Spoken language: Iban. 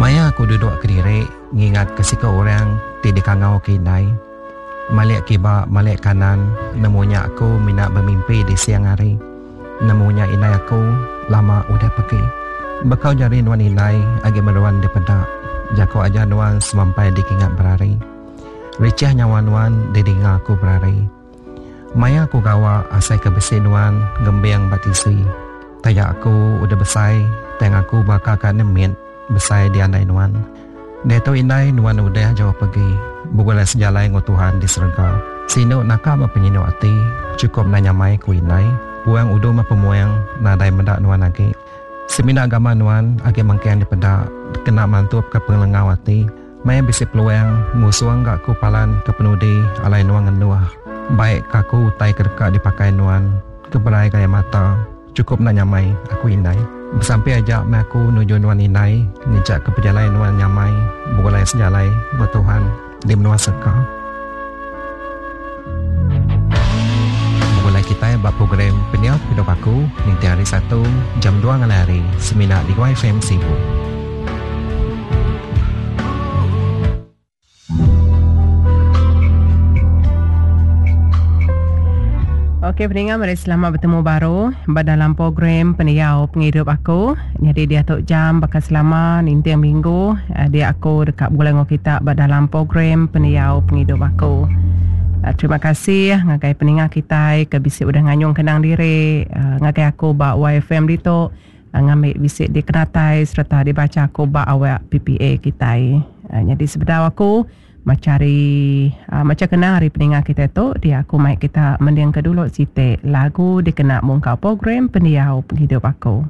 Maya aku duduk kediri ngingatka siku orang ti dikangauka indai. Malik kiba malik kanan nemu nya aku mina bemimpi di siang hari. Nemu nya indai aku lama udah pegi. Bekau jari nuan indai agi meruan dipeda. Jaku ajar nuan semampai dikingat berari. Richah nyawa nuan didinga aku berari. Maya aku gawa asai ke bisi nuan ngembing ba tisi. Taja aku udah besai tang aku baka ka nemit besai diandai nuan. Diatu indai nuan udah jauh pegi begulai sejalai enggau Tuhan di serega. Sinu naka meh penyinu ati chukup enda nyamai ku indai. Puang udu meh pemuang nadai meda nuan agi. Semina gamal nuan agi mengkang dipeda kena mantupka pengelengau ati. Maya bisi peluang, ngusung ga aku palan ke penudi alai nuan ngenduh. Baik ka aku utai ke deka dipakai nuan, ke berai gaya mata, chukup enda nyamai, aku indai. Besampi aja meh aku nuju nuan indai, ngejak ke pejalai nuan nyamai, begulai sejalai enggau Tuhan di menua serega. Begulai kitai ba program Pendiau Pengidup Aku ninting hari Satu jam dua ngalih hari semina di YFM Sibu. Okey peninga meri selamat betemu baru ba dalam program pendiau pengidup aku. Nyadi diatu jam baka selama ninting minggu eh, dia aku deka begulai enggau kita ba dalam program pendiau pengidup aku. Eh, terima kasih ngagai peninga kitai ke bisi udah nganyung kenang diri eh, ngagai aku ba YFM ditu. Ngambi bisi dikenatai sereta dibacha aku ba awak PPA kitai. Nyadi sebedau aku macha ari macha kenang ari peninga kitai tu dia aku mai kita mendingka dulu siti lagu dikena mungkal program pendiau pengidup aku.